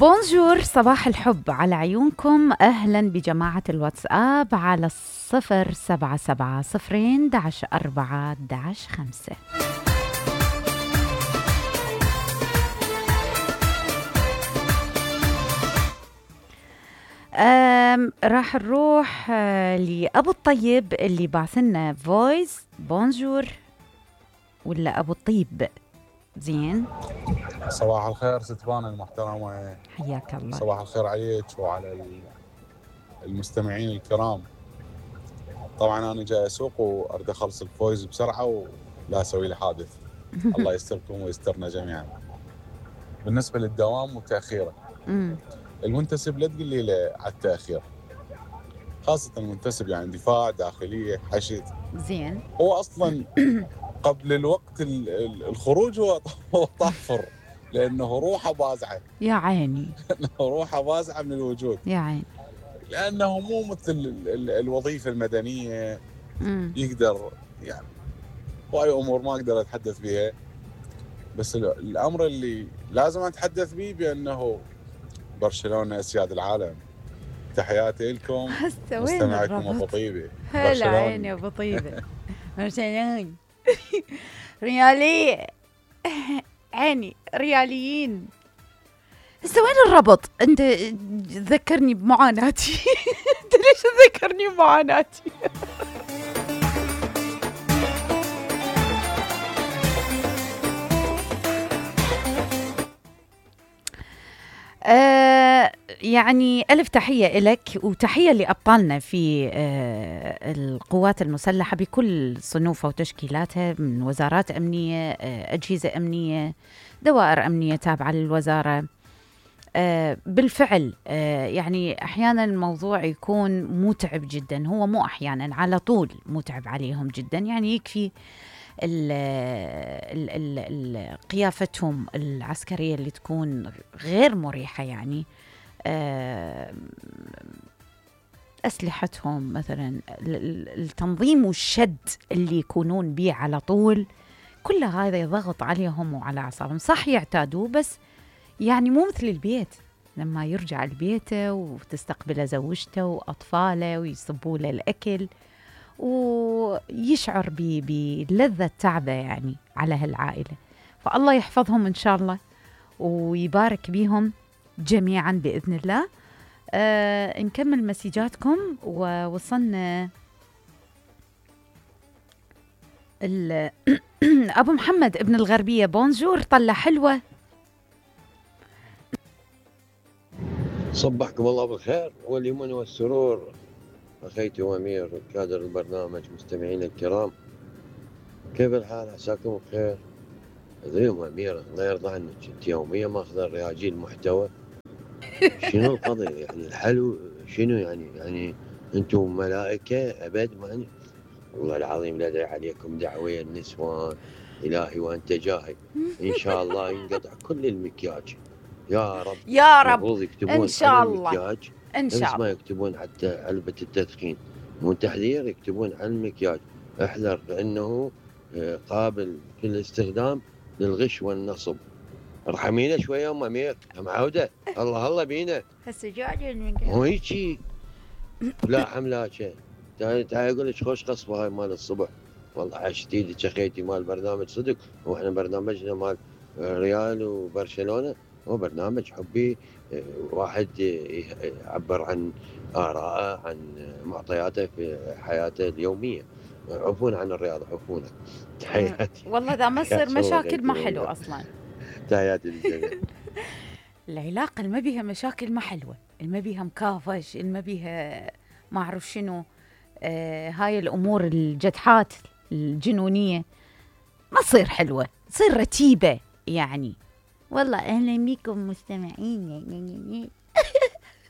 بونجور، صباح الحب على عيونكم. أهلا بجماعة الواتساب على 077 راح نروح لأبو الطيب اللي بعثلنا فويس. بونجور ولا أبو الطيب؟ زين، صباح الخير ستبان المحترمة، حياك الله. صباح الخير عليك وعلى المستمعين الكرام. طبعا أنا جاي أسوق وأريد أخلص الفويز بسرعة ولا أسوي لي حادث. الله يستركم ويسترنا جميعا. بالنسبة للدوام وتأخيره، المنتسب لا تقول لي على التأخير، خاصة المنتسب يعني دفاع، داخلية، حشد. زين، هو أصلا قبل الوقت الخروج هو طافر، لأنه روحه بازعة. يا عيني، روحه بازعة من الوجود، يا عيني، لأنه مو مثل الوظيفة المدنية. يقدر يعني وهي أمور ما أقدر أتحدث بها، بس الأمر اللي لازم أتحدث به بأنه برشلونة أسياد العالم. تحياتي لكم مستمعكم أبو طيبة. هلا عيني أبو طيبة. برشلونة ريالي عيني، رياليين. هسه وين الربط؟ انت تذكرني بمعاناتي. انت ليش تذكرني بمعاناتي؟ يعني ألف تحية إلك وتحية لأبطالنا في القوات المسلحة بكل صنوفها وتشكيلاتها، من وزارات أمنية، أجهزة أمنية، دوائر أمنية تابعة للوزارة. بالفعل يعني أحيانا الموضوع يكون متعب جدا، هو مو أحيانا، على طول متعب عليهم جدا. يعني يكفي قيافتهم العسكرية اللي تكون غير مريحة، يعني أسلحتهم مثلا، التنظيم والشد اللي يكونون بيه على طول، كل هذا يضغط عليهم وعلى أعصابهم. صح يعتادوا، بس يعني مو مثل البيت لما يرجع لبيته وتستقبله زوجته وأطفاله ويصبوا له الأكل ويشعر بلذة تعبه يعني على هالعائلة. فالله يحفظهم إن شاء الله ويبارك بيهم جميعا بإذن الله. نكمل مسيجاتكم. ووصلنا أبو محمد ابن الغربية. بونجور، طلع حلوة. صبحكم الله بالخير واليمن والسرور أخيتي وأمير كادر البرنامج، مستمعين الكرام، كيف الحال؟ عساكم بخير. ذيهم أميرة الله يرضى عنك، أنت يوميا ماخذة رياجيل محتوى. شنو القضية يعني؟ الحلو شنو يعني أنتم ملائكة أبد؟ معني والله العظيم لا أدعي عليكم دعوية النسوان، إلهي وأنت جاهي. إن شاء الله ينقطع كل المكياج يا رب يا رب، المفروض يكتبون إن شاء الله، المكياج، إن شاء الله. ما يكتبون حتى علبة التدخين، مو تحذير، يكتبون على المكياج احذر فإنه قابل في الاستخدام للغش والنصب. ارحمينا شوية يا أم أمير، أم عودة، الله بينا. مو هيجي لا حملاكة. تعال أقول لك خوش قصبة هاي مال الصبح، والله عشت ايدك اخيتي. مال برنامج صدق، واحنا برنامجنا مال ريال وبرشلونة هو برنامج حبي، واحد يعبر عن آراءه، عن معطياته في حياته اليومية. عفونا عن الرياضة، عفونا. تحياتي. والله إذا ما تصير مشاكل ما حلو أصلا. تحياتي للجميع. العلاقة اللي ما بيها مشاكل ما حلوة، اللي ما بيها مكافش، اللي ما بيها ما أعرف شنو، هاي الأمور الجدحات الجنونية ما تصير حلوة، تصير رتيبة يعني. والله أهلا بكم مستمعين.